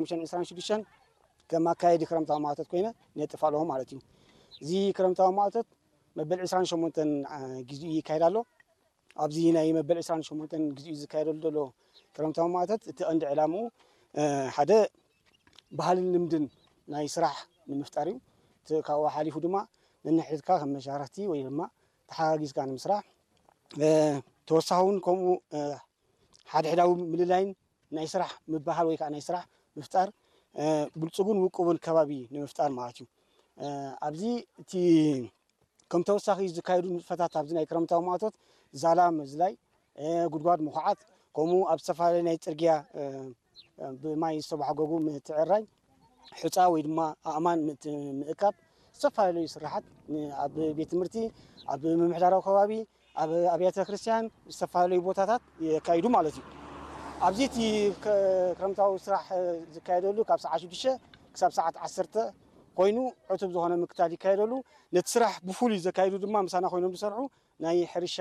ሓሙሽተን ዕስራን ሽዱሽተን ከም ኣካየዲ ክረምታዊ ማእቶት ኮይነ ነጥፍ ኣለኹ ማለት እዩ። እዚ ክረምታዊ ማእቶት መበል ዕስራን ሸሞንተን ግዜኡ ይካየድ ኣሎ። ኣብዚ ናይ መበል ዕስራን ሸሞንተን ግዜኡ ዝካየደሉ ዘሎ ክረምታዊ ማእቶት እቲ ቀንዲ ዕላምኡ ሓደ ባህልን ልምድን ናይ ስራሕ ንምፍጣር እዩ። እቲ ካብኡ ሓሊፉ ድማ ነንሕድካ ከም መሻርክቲ ወይ ድማ ተሓጋጊዝካ ንምስራሕ ተወሳኺ እውን ከምኡ ሓድሕዳዊ ምልላይን ናይ ስራሕ ምብህሃል ወይ ከዓ ናይ ስራሕ ምፍጣር ብልፁግን ውቁብን ከባቢ ንምፍጣር ማለት እዩ። ኣብዚ እቲ ከም ተወሳኺ ዝካየዱ ንጥፈታት ኣብዚ ናይ ክረምታዊ ማእቶት ዛላ ምዝላይ፣ ጉድጓድ ምኹዓት፣ ከምኡ ኣብ ዝተፈላለዩ ናይ ፅርግያ ብማይ ዝተባሕጎጉ ምትዕራይ፣ ሑፃ ወይ ድማ ኣእማን ምእካብ፣ ዝተፈላለዩ ስራሓት ኣብ ቤት ትምህርቲ፣ ኣብ ምምሕዳራዊ ከባቢ፣ ኣብ ኣብያተ ክርስቲያን ዝተፈላለዩ ቦታታት የካይዱ ማለት እዩ። ኣብዚ እቲ ክረምታዊ ስራሕ ዝካየደሉ ካብ ሰዓት ሽዱሽተ ክሳብ ሰዓት ዓሰርተ ኮይኑ ዕቱብ ዝኾነ ምክታል ይካየደሉ። ነቲ ስራሕ ብፍሉይ ዘካይዱ ድማ ምሳና ኮይኖም ዝሰርሑ ናይ ሕርሻ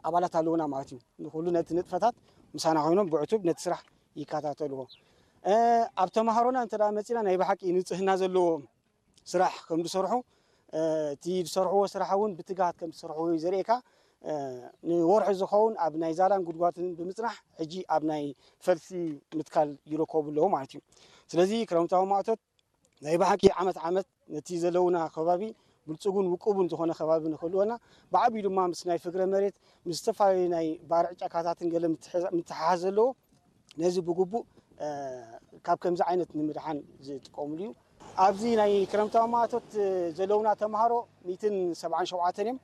ኣባላት ኣለውና ማለት እዩ። ንኩሉ ነቲ ንጥፈታት ምሳና ኮይኖም ብዕቱብ ነቲ ስራሕ ይከታተልዎ። ኣብ ተምሃሮና እንተ መፂና ናይ ብሓቂ ንፅህና ዘለዎ ስራሕ ከም ዝሰርሑ እቲ ዝሰርሕዎ ስራሕ እውን ብትግሃት ከም ዝሰርሕዎ እዩ ዘርእየካ። ንወርሒ ዝኸውን ኣብ ናይ ዛላን ጉድጓትን ብምፅናሕ ሕጂ ኣብ ናይ ፈልሲ ምትካል ይረከቡ ኣለዉ ማለት እዩ። ስለዚ ክረምታዊ ማእቶት ናይ ብሓቂ ዓመት ዓመት ነቲ ዘለውና ከባቢ ብልፅጉን ውቁብን ዝኾነ ከባቢ ንክህልወና ብዓብዩ ድማ ምስ ናይ ፍግረ መሬት ምስ ዝተፈላለዩ ናይ ባርዕ ጫካታትን ገለ ምትሓሓዝ ዘለዎ ነዚ ብግቡእ ካብ ከምዚ ዓይነት ንምድሓን ዝጥቀሙሉ እዩ። ኣብዚ ናይ ክረምታዊ ማእቶት ዘለውና ተምሃሮ ሚእትን ሰብዓን ሸውዓተን እዮም።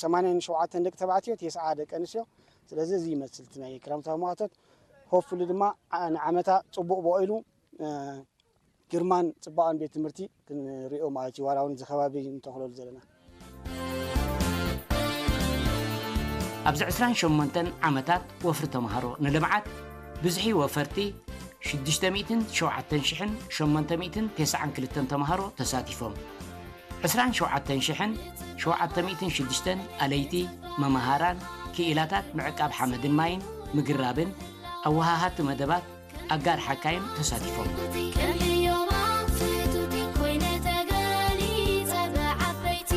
ሰማንያን ሸውዓተን ደቂ ተባዕትዮ፣ ተስዓ ደቂ ኣንስትዮ። ስለዚ እዚ ይመስል እቲ ናይ ክረምታዊ ማእቶት። ሆፍሊ ድማ ንዓመታ ፅቡቕ በቂሉ ግርማን ፅባቐን ቤት ትምህርቲ ክንሪኦ ማለት እዩ። ዋላ እውን እዚ ከባቢ እንተኽለሉ ዘለና ኣብዚ ዕስራን ሸሞንተን ዓመታት ወፍሪ ተምሃሮ ንልምዓት ብዝሒ ወፈርቲ ሽዱሽተ ሚእትን ሸውዓተን ሽሕን ሸሞንተ ሚእትን ተስዓን ክልተን ተምሃሮ ተሳቲፎም። ዕስራን ሸውዓተን ሽሕን ሸውዓተ ሚእትን ሽዱሽተን ኣለይቲ፣ መማሃራን፣ ክኢላታት ምዕቃብ ሓመድን ማይን፣ ምግራብን፣ ኣወሃሃድቲ መደባት፣ ኣጋር ሓካይም ተሳቲፎም። ከም ህዮባ ፍቱቲ ኮይነ ተገሊጸ ብዓበይቲ።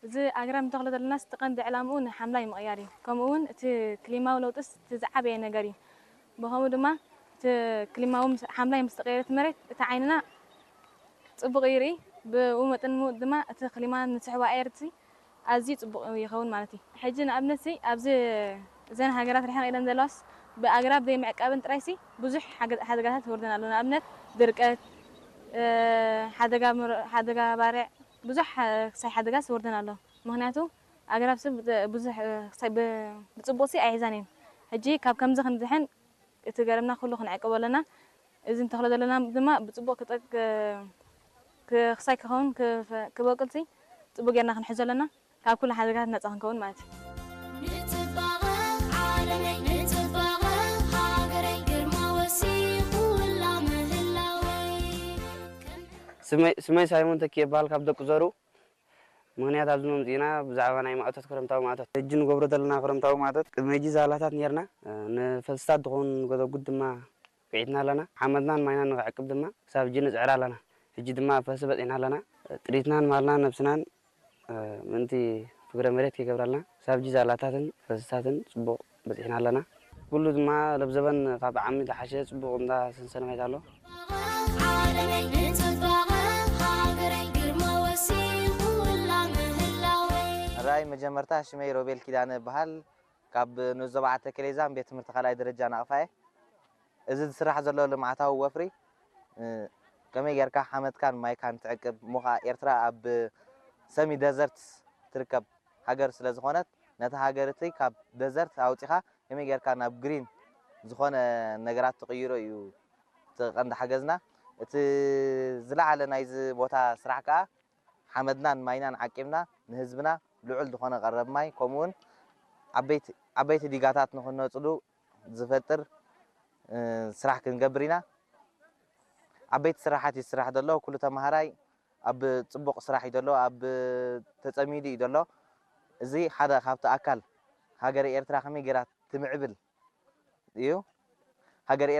እዚ ኣግራብ ንተኽሎ ዘለናስ እቲ ቀንዲ ዕላምኡ ንሓምላይ ምቕያር እዩ። ከምኡ እውን እቲ ክሊማዊ ለውጥስ እቲ ዝዓበየ ነገር እዩ። ብኸምኡ ድማ እቲ ክሊማዊ ምስ- ሓምላይ ምስ ተቐየረ እቲ መሬት እቲ ዓይንና ጽቡቕ ይርኢ። ብኡ መጠን ሙ- ድማ እቲ ክሊማ ንስሕቦ ኣየር እቲ ኣዝዩ ጽቡቕ ይኸውን ማለት እዩ። ሕጂ ንኣብነት ሲ ኣብዚ እዘን ሃገራት ርሕቕ ኢለን ዘለዋስ ብኣግራብ ዘይምዕቃብን ጥራይ ሲ ብዙሕ ሓገ- ሓደጋታት ይወርደን ኣሎ። ንኣብነት ድርቀት፣ ሓደጋ ባርዕ ብዙሕ ክሳይ ሓደጋስ ይወርደን ኣሎ። ምኽንያቱ ኣግራብ ሰብ ብዙሕ ክሳይ ብፅቡቅ ሲ ኣይሕዛን እየን። ሕጂ ካብ ከምዚ ክንድሕን እቲ ገረብና ኩሉ ክንዕቅቦ ኣለና። እዚ እንተኽሎ ዘለና ድማ ብፅቡቅ ክጠቅ ክሳይ ክኸውን ክበቅል ሲ ፅቡቅ ጌርና ክንሕዞ ኣለና። ካብ ኩሉ ሓደጋታት ነፃ ክንከውን ማለት እዩ። ንፅባቐ ዓለመይ ንፅባቐ ሃገረይ ግርማ ወሲኹ ላምህላወይ። ስመይ ሳይሞን ተኪ ይበሃል ካብ ደቂ ዘሩ። ምኽንያት ኣብዚ መምፅእና ብዛዕባ ናይ ማእቶት ክረምታዊ ማእቶት ሕጂ ንገብሮ ዘለና ክረምታዊ ማእቶት ቅድሚ ሕጂ ዛላታት ነርና ንፈልስታት ዝኾኑ ንጎደጉድ ድማ ኪዒትና ኣለና። ሓመድናን ማይናን ንክዕቅብ ድማ ክሳብ ሕጂ ንፅዕር ኣለና። ሕጂ ድማ ኣብ ፈልሲ በፂሕና ኣለና። ጥሪትናን ማልናን ነብስናን ምእንቲ ፍግረ መሬት ከይገብረልና ክሳብ ሕጂ ዛላታትን ፈልስታትን ፅቡቕ በፂሕና ኣለና። ኩሉ ድማ ለብዘበን ካብ ዓሚ ዝሓሸ ፅቡቕ እንዳ ሰንሰነ ማይት ኣሎ። ዓለመይ ንፅባቐ ሃገረይ ግርማ ወሲኹ ላምህላወይ። ሕራይ መጀመርታ ሽመይ ሮቤል ኪዳነ እበሃል። ካብ ንኡስ ዞባ ዓተ ከሌዛን ቤት ትምህርቲ ካልኣይ ደረጃ ናቕፋ እየ። እዚ ዝስራሕ ዘሎ ልምዓታዊ ወፍሪ ከመይ ጌርካ ሓመድካን ማይካን ትዕቅብ እሞ ኸዓ ኤርትራ ኣብ ሰሚ ደዘርት ትርከብ ሃገር ስለ ዝኾነት ነታ ሃገር እቲ ካብ ደዘርት ኣውፂኻ ከመይ ጌርካ ናብ ግሪን ዝኾነ ነገራት ትቕይሮ እዩ እቲ ቀንዲ ሓገዝና። እቲ ዝለዓለ ናይዚ ቦታ ስራሕ ከዓ ሓመድናን ማይናን ዓቂብና ንህዝብና ልዑል ዝኾነ ቀረብ ማይ ከምኡውን ዓበይቲ ዲጋታት ንኽነፅሉ ዝፈጥር ስራሕ ክንገብር ኢና። ዓበይቲ ስራሓት ይስራሕ ዘሎ። ኩሉ ተምሃራይ ኣብ ፅቡቕ ስራሕ እዩ ዘሎ፣ ኣብ ተፀሚዱ እዩ ዘሎ። እዚ ሓደ ካብቲ ኣካል ሃገረ ኤርትራ ከመይ ጌራ ትምዕብል እዩ። ሃገረ